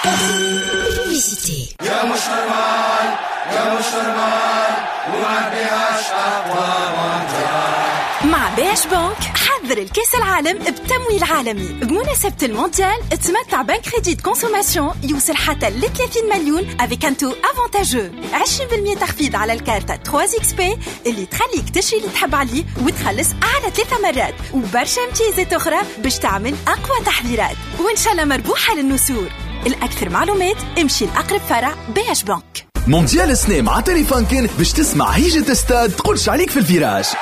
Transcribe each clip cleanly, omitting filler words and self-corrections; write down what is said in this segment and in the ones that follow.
Publicité. يا مش normal، يا مش normal، وما بيهاش أقوى مونديال. مع BH Bank حضر الكاس العالم بتمويل عالمي. بمناسبة المونديال تمتع ب un crédit consommation يوصل حتى ل 30 مليون avec un taux avantageux، 20% تخفيض على الكارتة 3 XP اللي تخليك تشري اللي تحب عليه وتخلص على 3 مرات، وبرشا امتيازات أخرى باش تعمل أقوى تحضيرات، وإن شاء الله مربوحة للنسور. الأكثر معلومات امشي لأقرب فرع BH Bank. مونديال السنة مع Telefunken باش تسمع هيجة استاد تقولش عليك في ال virage،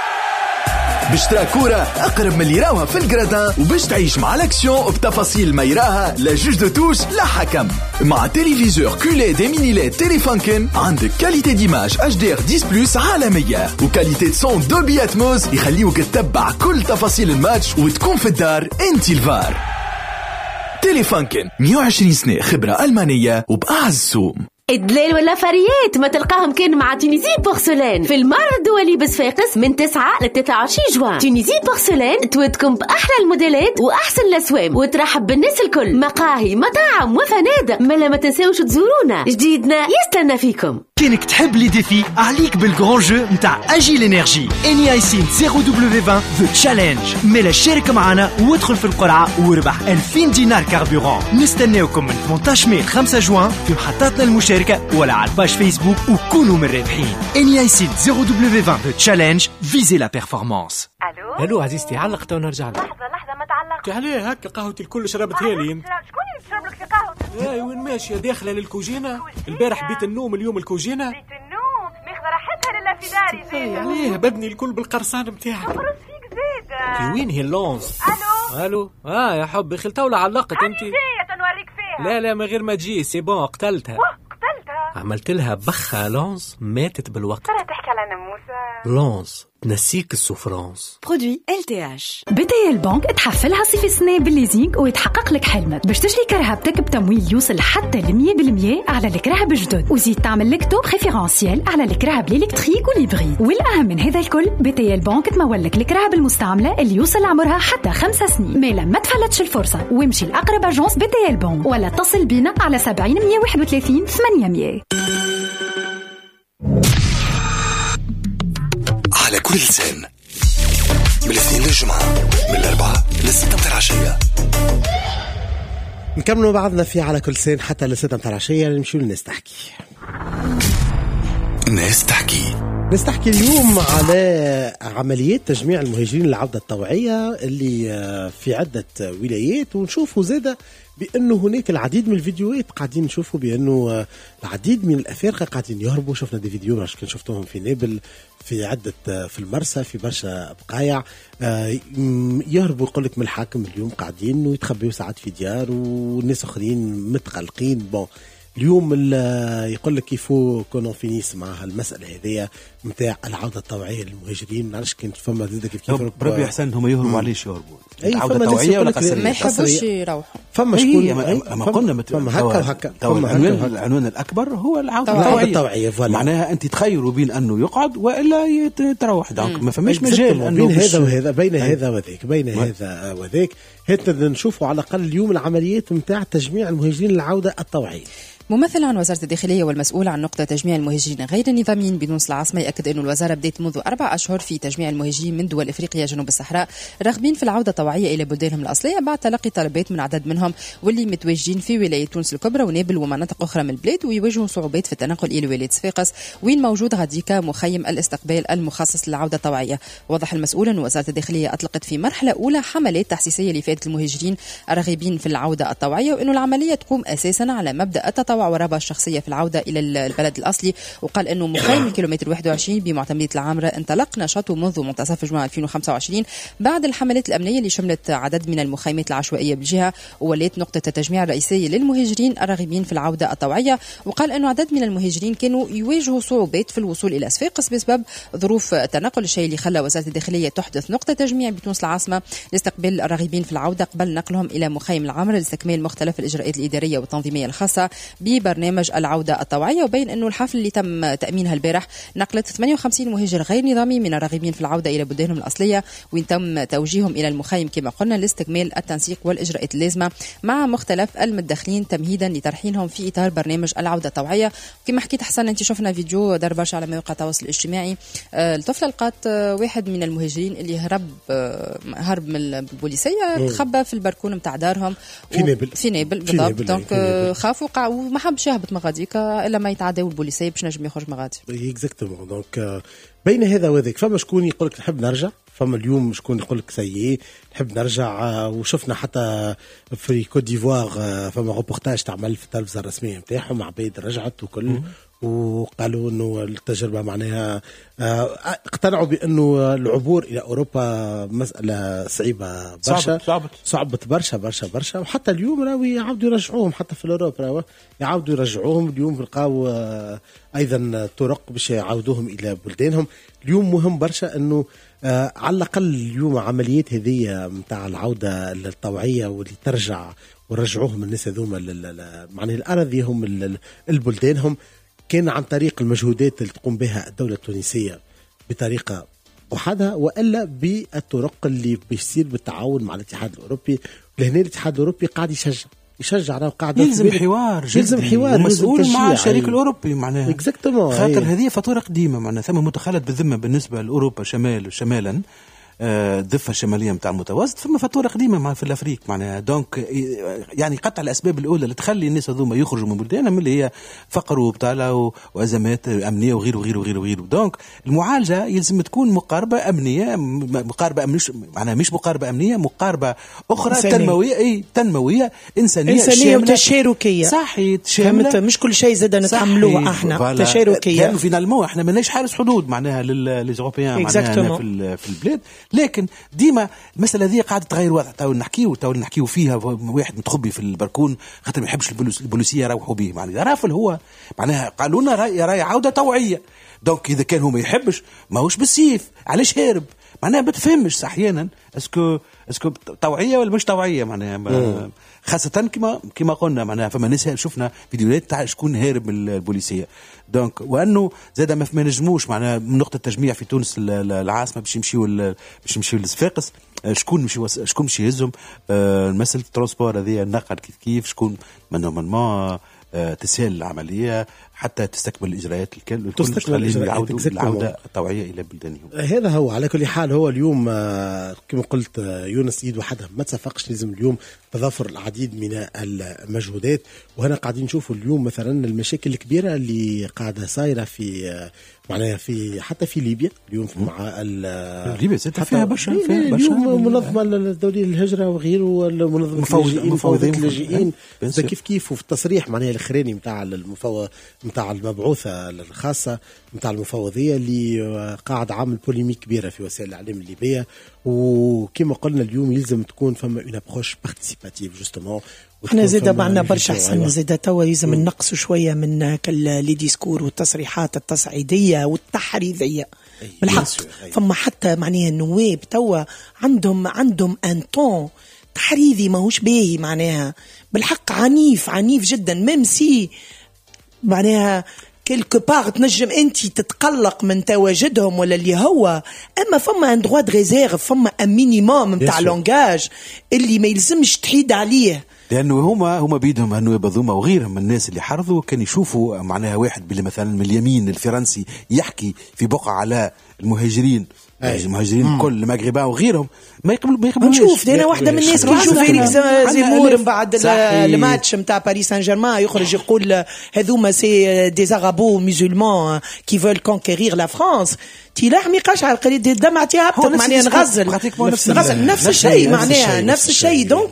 باش ترى كورة أقرب من اللي يراوها في ال gradins، وباش تعيش مع l'action بتفاصيل ما يراها لا juge de touche لا حكم. مع téléviseur QLED mini LED Telefunken عندك qualité d'image HDR 10 plus عالمية و qualité son Dolby Atmos يخليوك تتبع كل تفاصيل الماتش وتكون في الدار انت الفار. Telefunken 120 سنة خبرة ألمانية وبأعز سوم. الدلال ولا فريات ما تلقاهم كان مع Tunisie Porcelaine في المعرض الدولي بصفاقس من 9 ل 23 جوان. Tunisie Porcelaine تودكم بأحلى الموديلات وأحسن الأسوام وترحب بالناس الكل، مقاهي، مطاعم وفنادق. ما تنساوش تزورونا، جديدنا يستنى فيكم. كانك تحب les défis عليك بال grand jeu نتاع Agil Energy Eni iSYNT 0W20 The Challenge. مالا شارك معنا وادخل في القرعة واربح 2000 دينار carburant. نستناوكم من 18 ماي ل 5 جوان في محطاتنا المشاركة ولا على ال page Facebook وكونوا من الرابحين. Eni iSYNT 0W20 The Challenge، visez la performance. الو الو عزيزتي، علقت ونرجع لك. لحظة لحظة، ما تعلقش. عليه هكا قهوتي الكل شربتها لي انت. شكون اللي تشرب لك في قهوتك؟ اي وين ماشية؟ داخله للكوجينه. البارح بيت النوم، اليوم الكوجينه. بيت النوم ماخذه راحتها لله في داري زيد. عليه بدني الكل بالقرصان نتاعك. تقرص فيك زيد. في وين هي اللونز؟ الو الو يا حبي خلتها ولا علقت انت؟ جاية نوريك فيها. لا لا من غير ما تجي، c'est bon قتلتها. قتلتها؟ عملت لها بخه لونز ماتت بالوقت. ترى تحكي على ناموسه. لونز تنسيك ال souffrance. Produit LTH. BTL Bank تحفلها صيف السنة بال leasing ويتحقق لك حلمك باش تشري كرهبتك بتمويل يوصل حتى ل 100% على الكراهب الجدد، وزيد تعمل لك taux préférentiel على الكراهب ال électriques وال hybrides. والاهم من هذا الكل BTL Bank تمول لك الكراهب المستعملة اللي يوصل عمرها حتى 5 سنين. مالا ما تفلتش الفرصة وامشي لاقرب agence BTL Bank ولا اتصل بينا على 70 131 800. على كل لسان من الاثنين للجمعة من 4 ل6 متاع العشية. نكملوا بعضنا في على كل لسان حتى ل6 متاع العشية. نمشيو للناس تحكي. ناس تحكي. ناس تحكي اليوم على عمليات تجميع المهاجرين للعودة الطوعية اللي في عدة ولايات، ونشوفوا زادة بأنه هناك العديد من الفيديوهات قاعدين نشوفوا بأنه العديد من الأفارقة قاعدين يهربوا. شفنا des vidéos كان شفتوهم في نابل، في عدة، في المرسى، في برشا بقايع يهربوا. يقول لك من الحاكم اليوم قاعدين ويتخبيوا ساعات في ديار والناس آخرين متقلقين. bon اليوم يقول لك il faut qu'on en finisse مع المسالة هذيا نتاع العودة الطوعيه للمهاجرين. ما نعرفش كنت فما زاد كيف كيف بربي احسن هم يهربوا، علاش يهربوا؟ العودة الطوعيه ولا قسريه؟ ما يحبوش يروحوا. فما شكون ما قلنا فما هكا وهكا. العنوان الاكبر هو العودة الطوعيه، معناها انت تخيروا بين انه يقعد والا تروح. donc ما فماش مجال انه بين هذا وهذا، بين هذا وذاك، بين هذا وذاك. هات نشوفوا على الاقل اليوم العمليات نتاع تجميع المهاجرين للعودة الطوعيه. ممثل عن وزارة الداخلية والمسؤول عن نقطة تجميع المهاجرين غير النظاميين بتونس العاصمة يأكد أن الوزارة بدأت منذ 4 أشهر في تجميع المهاجرين من دول إفريقيا جنوب الصحراء راغبين في العودة الطوعية إلى بلدانهم الأصلية بعد تلقي طلبات من عدد منهم واللي متواجدين في ولاية تونس الكبرى ونابل ومناطق أخرى من البلاد ويواجهوا صعوبات في التنقل إلى ولاية صفاقس وين موجود غاديكا مخيم الاستقبال المخصص للعودة الطوعية. وضح المسؤول أن وزارة الداخلية أطلقت في مرحلة أولى حملات تحسيسية لفائدة المهاجرين الراغبين في العودة الطوعية وأن العملية تقوم أساسا على مبدأ التطوع والرغبة الشخصية في العودة إلى البلد الأصلي. وقال أنه مخيم الكيلومتر 21 بمعتمدية العامرة انطلق نشاطه منذ منتصف جوان 2025 بعد الحملات الأمنية اللي شملت عدد من المخيمات العشوائية بالجهة وولات نقطة التجميع الرئيسية للمهاجرين الراغبين في العودة الطوعية. وقال أنه عدد من المهاجرين كانوا يواجهوا صعوبات في الوصول إلى صفاقس بسبب ظروف التنقل، الشيء اللي خلى وزارة الداخلية تحدث نقطة تجميع بتونس العاصمة لاستقبال الراغبين في العودة العودة قبل نقلهم إلى مخيم العمر لاستكمال مختلف الإجراءات الإدارية والتنظيمية الخاصة ببرنامج العودة الطوعية. وبين أنه الحفل اللي تم تأمينها البارح نقلت 58 مهاجر غير نظامي من الراغبين في العودة إلى بلدانهم الأصلية، وين تم توجيههم إلى المخيم كما قلنا لاستكمال التنسيق والإجراءات اللازمة مع مختلف المتدخلين تمهيدا لترحيلهم في إطار برنامج العودة الطوعية. كما حكيت حسن أنت شفنا فيديو دار برشا على مواقع التواصل الاجتماعي، الطفلة لقات واحد من المهاجرين اللي هرب من البوليسية، تخبى في البركون نتاع دارهم في نابل بالضبط. donc خاف وقع وما حبش يهبط مغاديك الا ما يتعداو البوليسية باش نجم يخرج مغادي. exactement. donc بين هذا وذاك فما شكون يقول لك نحب نرجع، فما اليوم شكون يقول لك ça y est نحب نرجع. وشفنا حتى في كوت ديفوار فما روبورتاج تعمل في التلفزة الرسمية نتاعهم، عباد رجعت وكل وقالوا انه التجربة معناها اقتنعوا بانه العبور الى اوروبا مسالة صعيبة برشا، صعبت برشا برشا برشا. وحتى اليوم راهو يعاودوا يرجعوهم، حتى في l'Europe راهو يعاودوا يرجعوهم. اليوم لقاو ايضا طرق باش يعاودوهم الى بلدانهم. اليوم مهم برشا انه على الاقل اليوم عمليات هذه نتاع العودة الطوعيه واللي ترجع ورجعوهم الناس هذوما معناها الاراضيهم البلدانهم، كان عن طريق المجهودات اللي تقوم بها الدولة التونسية بطريقة وحدها، وإلا بالطرق اللي بيصير بالتعاون مع الاتحاد الأوروبي. لهنا الاتحاد الأوروبي قاعد يشجع راه قاعد يلزم حوار، يلزم حوار مسؤول مع الشريك الأوروبي معناها خاطر هذه فاتورة قديمة معناها ثم متخلط بالذمة بالنسبة لأوروبا شمالا الضفة الشمالية متاع المتوسط، ثم فاتورة قديمة مع في الأفريق معناها. donc يعني قطع الأسباب الأولى اللي تخلي الناس هذوما يخرجوا من بلدانهم اللي هي فقر وبطالة وأزمات أمنية وغيره وغيره وغيره وغيره. donc المعالجة يلزم تكون مقاربة أمنية، مقاربة مش معناها مش مقاربة أمنية، مقاربة أخرى تنموية، أي تنموية إنسانية وتشاركية. صحيح، فهمت، مش كل شيء زاد نتحملوه احنا، تشاركية. لأنه finalement احنا ماناش حارس حدود معناها les Européens معناها في البلاد، لكن ديما المسألة هذه قاعدة تغير وضع. تو نحكيو فيها واحد متخبي في البركون خاطر ما يحبش البوليسية يروحوا به معناها رافل هو معناها قالوا لنا راي عودة طوعية. donc إذا كان هو ما يحبش ماهوش بالسيف، علاش هارب معناها؟ ما تفهمش أحيانا est-ce que طوعية ولا مش طوعية معناها، خاصة كما قلنا معناها فما ناس شفنا فيديوهات تاع شكون هارب من البوليسية. donc وأنه زاد ما نجموش معناها من نقطة التجميع في تونس العاصمة باش يمشيو لصفاقس، شكون مش يهزهم؟ مسألة ال transport هذه النقل كيف شكون normalement تسهل العملية حتى تستكمل الإجراءات الكل، تستكمل العودة الطوعية إلى بلدانهم. هذا هو على كل حال. هو اليوم كما قلت يونس إيد وحدها ما تسفقش، لازم اليوم تضافر العديد من المجهودات. وهنا قاعدين نشوفوا اليوم مثلا المشاكل الكبيرة اللي قاعدة صايرة في معناها في حتى في ليبيا اليوم مع ليبيا فيها برشا اليوم منظمة الدولية للهجرة وغيره والمنظمة المفوضية للاجئين كيف كيف. وفي التصريح معناها الأخراني نتاع نتاع المبعوثة الخاصة نتاع المفوضية اللي قاعد عامل polémique كبيرة في وسائل الإعلام الليبية. وكما قلنا اليوم يلزم تكون فما une approche participative justement. احنا زاد معنا برشا حسن، زاد توا يلزم نقصوا شوية من les discours والتصريحات التصعيديه والتحريضيه بالحق. فما حتى معناها النواب توا عندهم un ton تحريضي ماهوش باهي معناها بالحق، عنيف عنيف جدا. même si معناها quelque part تنجم انت تتقلق من تواجدهم ولا اللي هو، اما فما un droit de réserve، فما un minimum نتاع langage اللي ما يلزمش تحيد عليه. لانه هما بيدهم النواب هذوما وغيرهم من الناس اللي حرضوا كان يشوفوا معناها واحد باللي مثلا من اليمين الفرنسي يحكي في بقعة على المهاجرين، المهاجرين كل المغربة وغيرهم ما يقبلوا. نشوف انا واحدة من الناس كي نشوف إريك زيمور من بعد الماتش نتاع باريس سان جيرمان يخرج يقول هذوما c'est des arabo-musulmans qui veulent conquérir la France، تي لحمي قشعر قريب دمعتي هبطت معناها نغزل نفس الشيء معناها نفس الشيء. donc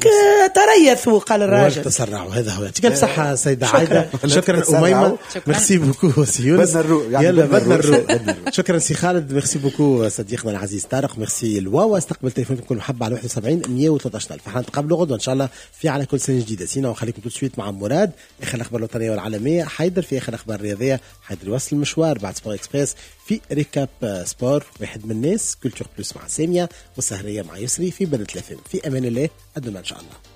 تريثوا قال الراجل تسرعوا. هذا هو يعطيك الصحة سيده عايدة. شكرا اميمة، merci beaucoup سي يونس، يلا بدنا نروح. شكرا سي خالد، merci beaucoup صديقي. صديقنا العزيز طارق، ميرسي الواوا. استقبل تليفونكم كل محبة على 71 113 الف. احنا نتقابلوا غدوه ان شاء الله في على كل سنة جديدة. sinon وخليكم tout de suite مع مراد اخر الاخبار الوطنية والعالمية، حيدر في اخر الاخبار الرياضية، حيدر يوصل المشوار بعد Sport Express في récap sport، واحد من الناس Culture Plus مع سامية، والسهريه مع يسري في بلد الافم. في امان الله، à demain ان شاء الله.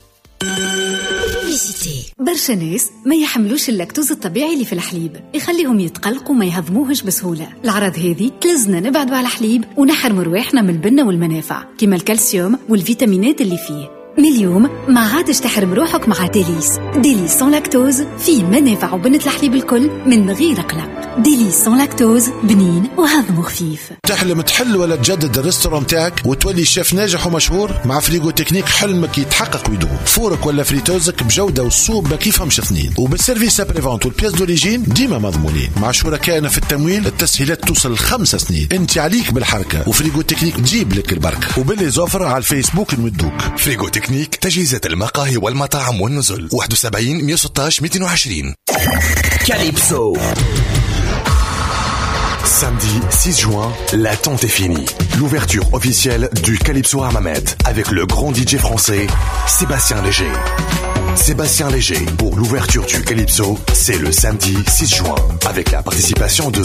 برشا ناس ما يحملوش اللاكتوز الطبيعي اللي في الحليب، يخليهم يتقلقوا وما يهضموهش بسهولة. الأعراض هذه تلزنا نبعدوا على الحليب ونحرموا رواحنا من البنة والمنافع كما الكالسيوم والفيتامينات اللي فيه. من اليوم ما عادش تحرم روحك مع Délice. Délice sans lactose فيه منافع وبنة الحليب الكل من غير قلق. Délice sans lactose بنين وهضمه خفيف. تحلم تحل ولا تجدد ال restaurant تاعك وتولي شيف ناجح ومشهور؟ مع Frigo Technique حلمك يتحقق ويدوم. four ك ولا friteuse ك بجوده والسوق ما كيفهمش اثنين، وبال service après-vente وال pièces d'origine ديما مضمونين. مع شركائنا في التمويل التسهيلات توصل 5 سنين. انت عليك بالحركة و Frigo Technique تجيب لك البركة، وب les offres على الفيسبوك نمدوك. Frigo Technique، تجهيزات المقاهي والمطاعم والنزل. 71 116 220. Calypso. Samedi 6 juin, l'attente est finie. L'ouverture officielle du Calypso Hammamet avec le grand DJ français Sébastien Léger. Sébastien Léger pour l'ouverture du Calypso, c'est le samedi 6 juin avec la participation de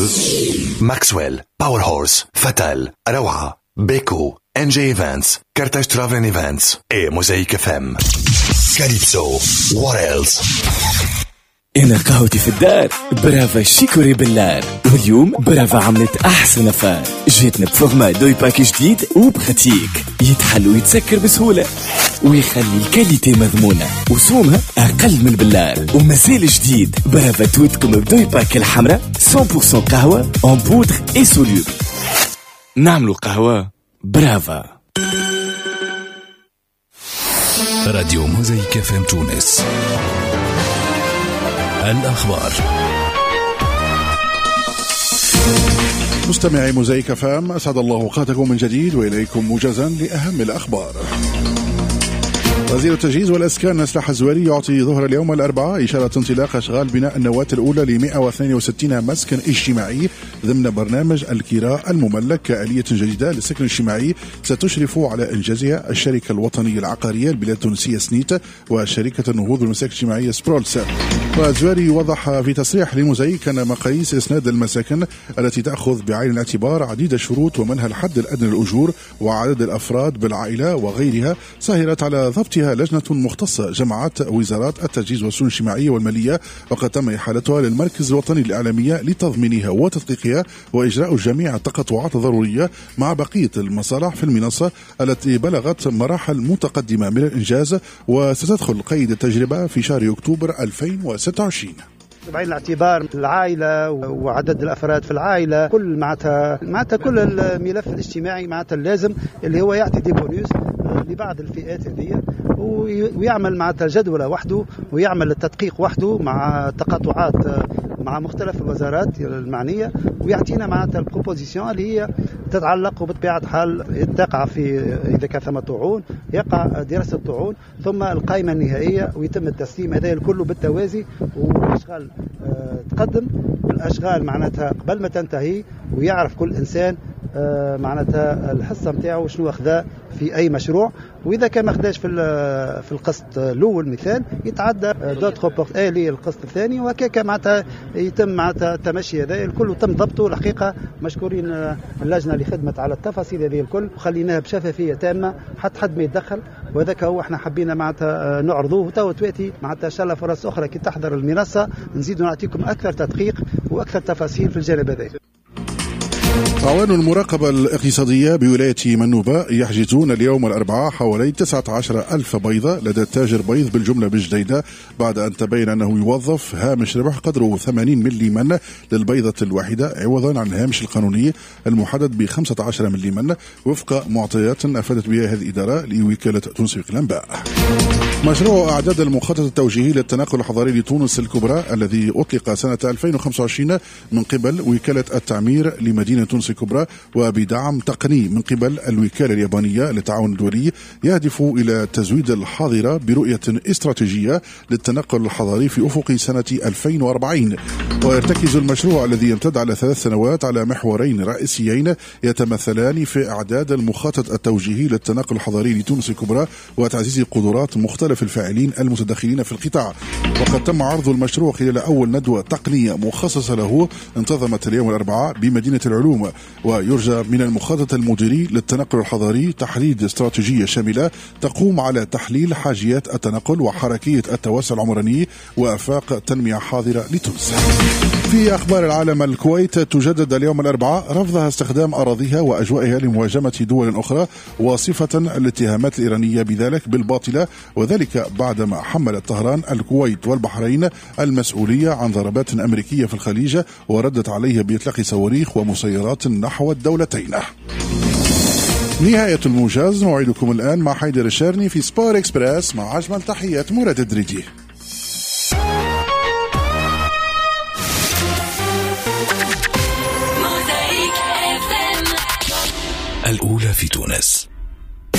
Maxwell, Power Horse, Fatal, Rawa, Beko, NJ Events, Carthage Travel Events et Mosaïque FM. Calypso, what else? أنا قهوتي في الدار Brava chicorée بلار، واليوم برافا عملت أحسن affaire. جاتنا ب format doypack جديد و pratique، يتحل ويتسكر بسهولة ويخلي ال qualité مضمونة وسومها أقل من البلار. ومازال جديد برافا توتكم ب doypack الحمراء 100% قهوة en poudre et soluble. نعملوا قهوة برافا. راديو موزايك FM تونس. الأخبار. مستمعي موزايك FM، أسعد الله أوقاتكم من جديد وإليكم موجزا لأهم الأخبار. وزير التجهيز والأسكان سلاح الزواري يعطي ظهر اليوم الأربعاء إشارة انطلاق أشغال بناء النواة الأولى ل 162 مسكن اجتماعي ضمن برنامج الكراء المملك كآلية جديدة للسكن الاجتماعي ستشرف على إنجازها الشركة الوطنية العقارية البلاد التونسية سنيت وشركة النهوض والمساكن الاجتماعية سبرولس. والزواري وضح في تصريح لموزايك أن مقاييس إسناد المساكن التي تأخذ بعين الاعتبار عديد الشروط ومنها الحد الأدنى للأجور وعدد الأفراد بالعائلة وغيرها سهرت على ضبطها لجنة مختصة جمعت وزارات التجهيز والشؤون الاجتماعية والمالية، وقد تم إحالتها للمركز الوطني للإعلامية لتضمينها وتدقيقها وإجراء جميع التقاطعات الضرورية مع بقية المصالح في المنصة التي بلغت مراحل متقدمة من الإنجاز، وستدخل قيد التجربة في شهر أكتوبر 2026. بعين الاعتبار العائلة وعدد الأفراد في العائلة، كل معناتها كل الملف الاجتماعي معناتها اللازم اللي هو يعطي des bonus لبعض الفئات هذه، ويعمل معناتها جدولة وحده ويعمل التدقيق وحده مع تقاطعات مع مختلف الوزارات المعنية، ويعطينا معناتها ال proposition اللي هي تتعلق وبطبيعة الحال تقع في إذا كان ثم طعون يقع دراسة الطعون ثم القائمة النهائية ويتم التسليم. هذا الكل بالتوازي، والأشغال تقدم والأشغال معناتها قبل ما تنتهي، ويعرف كل إنسان معناتها الحصة نتاعو شنو أخذها في أي مشروع، وإذا كان ما أخذاش في القسط الأول مثال يتعدى d'autres portes للقسط الثاني، وهكاك معناتها يتم معناتها التمشي هذا الكل وتم ضبطه. الحقيقة مشكورين اللجنة اللي خدمت على التفاصيل هذه الكل وخليناها بشفافية تامة حتى حد ما يتدخل، وهذاك هو احنا حبينا معناتها نعرضوه. وتو تواتي معناتها إن شاء الله فرص أخرى كي تحضر المنصة نزيدوا نعطيكم أكثر تدقيق وأكثر تفاصيل في الجانب هذا. أعوان المراقبة الاقتصادية بولاية منوبة يحجزون اليوم الأربعاء حوالي 19 ألف بيضة لدى تاجر بيض بالجملة بالجديدة بعد أن تبين أنه يوظف هامش ربح قدره 80 مليما للبيضة الواحدة عوضا عن الهامش القانوني المحدد ب 15 مليما وفق معطيات أفادت بها هذه الإدارة لوكالة تونس الأنباء. مشروع إعداد المخطط التوجيهي للتنقل الحضري لتونس الكبرى الذي أطلق سنة 2025 من قبل وكالة التعمير لمدينة تونس الكبرى وبدعم تقني من قبل الوكالة اليابانية للتعاون الدولي، يهدف إلى تزويد الحاضرة برؤية استراتيجية للتنقل الحضري في أفق سنة 2040. ويرتكز المشروع الذي يمتد على 3 سنوات على محورين رئيسيين يتمثلان في إعداد المخطط التوجيهي للتنقل الحضري لتونس الكبرى وتعزيز قدرات مختلف الفاعلين المتدخلين في القطاع. وقد تم عرض المشروع خلال أول ندوة تقنية مخصصة له انتظمت اليوم الأربعاء بمدينة العلوم. ويرجى من المخطط المديري للتنقل الحضري تحديد استراتيجية شاملة تقوم على تحليل حاجيات التنقل وحركية التوسع العمراني وآفاق تنمية حاضرة لتونس. في أخبار العالم، الكويت تجدد اليوم الأربعاء رفضها استخدام أراضيها وأجوائها لمهاجمة دول أخرى، واصفة الاتهامات الإيرانية بذلك بالباطلة، وذلك بعدما حملت طهران الكويت والبحرين المسؤولية عن ضربات أمريكية في الخليج وردت عليها بإطلاق صواريخ ومسيرات نحو الدولتين. نهاية الموجز، موعدكم الآن مع حيدر الشارني في Sport Express مع أجمل تحيات مراد الدريدي.